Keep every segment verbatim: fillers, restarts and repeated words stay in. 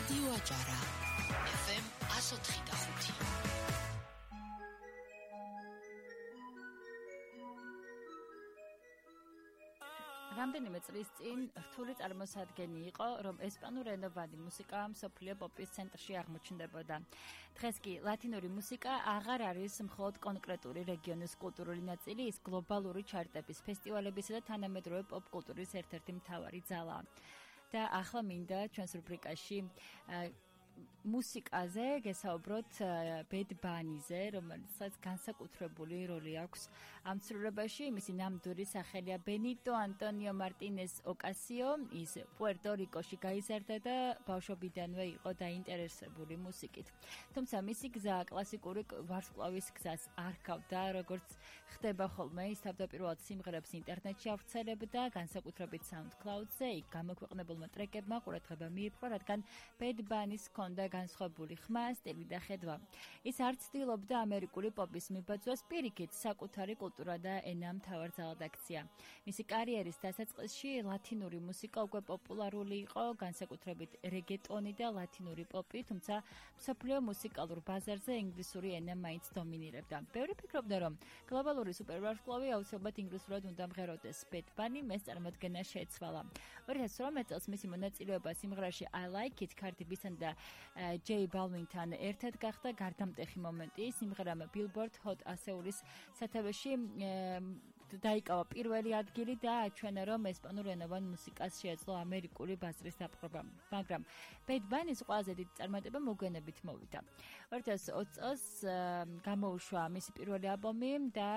რადიო აჭარა ეფ ემ one oh three point five. რამდენიმე წლის წინ რთული წარმოსადგენი იყო, რომ ესპანურენოვანი მუსიკა მსოფლიო პოპის ცენტრში აღმოჩნდებოდა. დღეს კი ლათინური მუსიკა აღარ არის მხოლოდ კონკრეტული რეგიონის კულტურული ნაწილი, ის გლობალური ჩარტების, ფესტივალებისა და თანამედროვე პოპ კულტურის ერთ-ერთი მთავარი ძალაა. და ახლა მინდა ჩვენს რუბრიკაში მუსიკაზე გესაუბროთ ბედ ბანიზე, რომელსაც განსაკუთრებული როლი აქვს ამ ცვლილებაში. მისი ნამდვილი სახელია ბენიტო ანტონიო მარტინეს ოკასიო. ის პუერტო-რიკოში გაიზარდა და ბავშვობიდანვე იყო დაინტერესებული მუსიკით. თუმცა მისი გზა კლასიკური ვარსკვლავის გზას არ ჰგავდა, როგორც ხდება ხოლმე. ის თავდაპირველად სიმღერებს ინტერნეტში ავრცელებდა, განსაკუთრებით SoundCloud-ზე. იქ გამოქვეყნებულმა ტრეკებმა ყურადღება მიიპყრო, რადგან ბედ ბანის და განსხვავებული ხმა, სტილი და ხედვა. ის არ ცდილობდა ამერიკული პოპის მიბაძვას, პირიქით, საკუთარი კულტურა და ენა მთავარძალად აქცია. მისი კარიერის დასაწყისში ლათინური მუსიკა უკვე პოპულარული იყო, განსაკუთრებით რეგეტონი და ლათინური პოპი, თუმცა მსოფლიო მუსიკალურ ბაზარზე ინგლისური ენა მაინც დომინირებდა. ბევრი ფიქრობდა, რომ გლობალური სუპერვარსკვლავი აუცილებლად ინგლისურად უნდა მღეროდეს. ბედ ბანი მეს წარმოდგენა შეეცვალა. ორი ათას ორმეტ წელს მისი მონაწილეობა სიმღერაში I Like It Cardi B-სთან და ჯეი ბალვინთან ერთად გახდა გარდამტეხი მომენტი. სიმღერამ Billboard Hot ასეულის სათავეში დაიკავა პირველი ადგილი და აჩვენა, რომ ესპანურენოვან მუსიკას შეეძლო ამერიკული ბაზრის დაპყრობა. მაგრამ ბედ ბანის ყველაზე დიდი წარმატება მოგვიანებით მოვიდა. ორი ათას ოცი წელს გამოუშვა მისი პირველი ალბომი და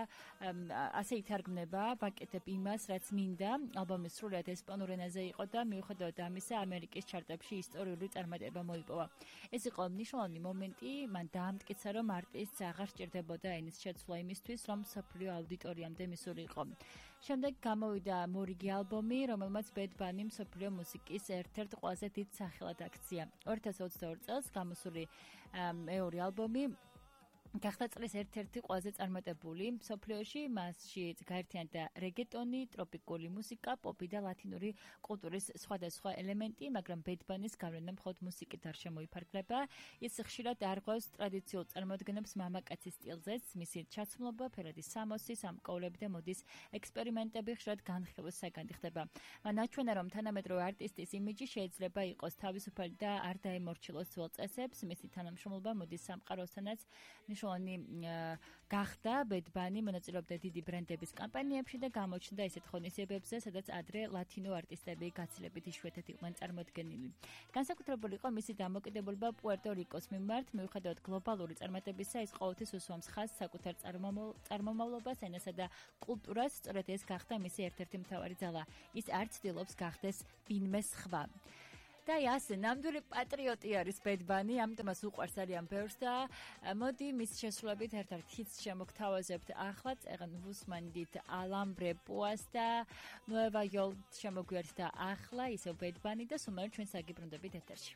ასე ითარგმნება ვაკეთებ იმას, რაც მინდა. ალბომი სრულად ესპანურ ენაზე იყო და მიუხედავად ამისა, ამერიკის ჩარტებში ისტორიული წარმატება მოიპოვა. ეს იყო მნიშვნელოვანი მომენტი, მან დაამტკიცა, რომ არტისტს აღარ სჭირდებოდა ენის შეცვლა იმისთვის, რომ მსოფლიო აუდიტორიამდე მისული იყო. შემდეგ გამოვიდა მორიგი ალბომი, რომელმაც ბედ ბანი მსოფლიო მუსიკის ერთ-ერთ ყველაზე დიდ სახელად აქცია. ორი ათას ოცდაორი წელს გამოსული მეორე ალბომი გახდა წლის ერთ-ერთი ყველაზე წარმატებული მსოფლიოში. მასში გაერთიანდა რეგეტონი, ტროპიკული მუსიკა, პოპი და ლათინური კულტურის სხვადასხვა ელემენტი, მაგრამ ბედ ბანის გავლენა მხოლოდ მუსიკით არ შემოიფარგლება. ის ხშირად არღვევს ტრადიციულ წარმოდგენებს მამაკაცის სტილზეც. მისი ჩაცმულობა, ფერადი სამოსი, სამკოვლები და მოდის ექსპერიმენტები ხშირად განხილვის საგანდი ხდება. მან აჩვენა, რომ თანამედროვე არტისტის იმიჯი შეიძლება იყოს თავისუფალი და არ დაემორჩილოს ძველ წესებს. მისი თანამშრომლობა მოდის სამყაროსთანაც მნიშვნელოვანი გახდა. ბედ ბანი მონაწილეობდა დიდი ბრენდების კამპანიებში და გამოჩნდა ისეთ ღონისძიებებზე, სადაც ადრე ლათინო არტისტები გაცილებით იშვიათად იყვნენ წარმოდგენილი. განსაკუთრებული იყო მისი დამოკიდებულება პუერტო-რიკოს მიმართ. მიუხედავად გლობალური წარმატებისა, ის ყოველთვის უსვამს ხაზს საკუთარ წარმომავლობას, ენასა და კულტურას. სწორედ ეს გახდა მისი ერთ-ერთი მთავარი ძალა. ის არ ცდილობს გახდეს ვინმე სხვა. და ასე ნამდვილი პატრიოტი არის ბედ ბანი, ამიტომ მას უყვარს ძალიან ბევრს და მოდი მის შესრულებით ერთ-ერთ ჰიტს შემოგთავაზებთ. ახლა წეღან ვუსმანდით ალამბრე პუას და ნუევა იოლ შემოგვიერთდა ახლა ისევ ბედ ბანი და სულ ჩვენ საგიბრუნდებით ეთერში.